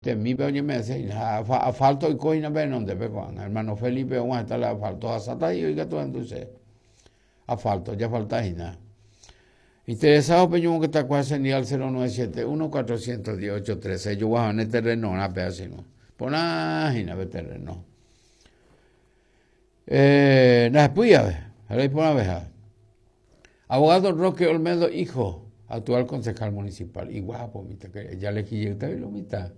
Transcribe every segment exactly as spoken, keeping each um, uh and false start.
Temípe oñeme'ẽse hína asfalto oiko hína pe henondépe ko'ág̃a. Hermano Felipe og̃uahẽta la asfalto hasáta ikatu henduse. Asfalto, jafalta hína. Interesado peñomongetakuaa chendive cero nueve siete uno cuatrocientos diez ocho trece ejoguahane terrenorã péva che irũ. Porã hína pe terreno. Eh, ndahepýi ave, ha iporãveha. Abogado Roque Olmedo hijo, actual concejal municipal. Iguapo, mitã, ya le lo mitã.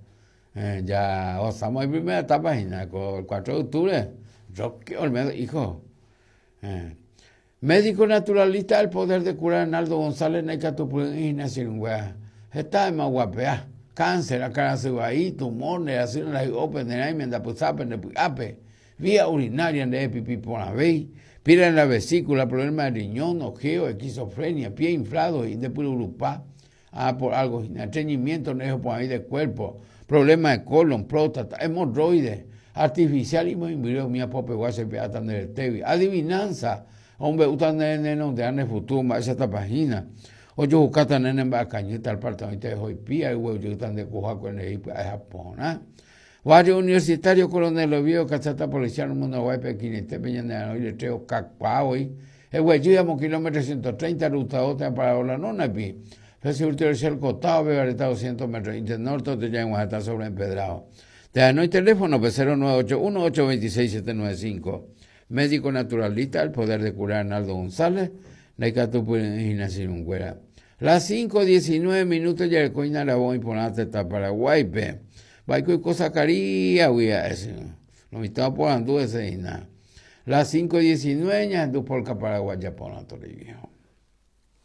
Eh, ya osamos en primera etapa hína, el cuatro de octubre. Roque Olmedo hijo. Eh. Médico naturalista, el poder de curar Arnaldo González, naikatupy'ỹi hína che irũnguéra. Heta guapea, cáncer, akãrasy vai, tumor, nderasy ndahy'ópe, nerãime, ndapysápe, ndepy'ápe, vía urinaria, nde pipi porãvéi, piedra en la vesícula, problema de riñón, ojeo, esquizofrenia, pie inflado y ndepyrurupa, ah, por algo, estreñimiento, ndejoporãvéi de cuerpo, problema de colon, próstata, hemorroides, artificial imoimbyre umi apopegua chepe'áta nde retégui, adivinanza, omombe'úta ne nenonderã ne futuro mba'éichatapa hína, ojohukáta ne nemba'ekañýta al parte oĩta oipía oguejýta nde kuhakue ndehegui pya'e porã. Barrio Universitario Coronel Oviedo, Cachata Policial Mundaguáipe equinaitépe ñane arõi letrero kakuaa voi eguejy amo kilómetro ciento treinta ruta dos térã Parabola Nonapi pe costado Vegareta doscientos metros inte norte otejaig̃uahẽta sobre empedrado. Te anói teléfono pe cero nueve ocho uno ocho veintiséis siete nueve cinco. Médico naturalista, el poder de curar Arnaldo González, ndaikatupy'ỹi hína che irũnguéra. Las cinco diecinueve minutos jareko hína aravo iporã tetã Paraguáipe. Mba'éiko oiko Zacaríasgui ha'e che. Lo mitã oporandu hese hína. Las cinco diecinueve ñahendu polka paraguaya porã toriviejo.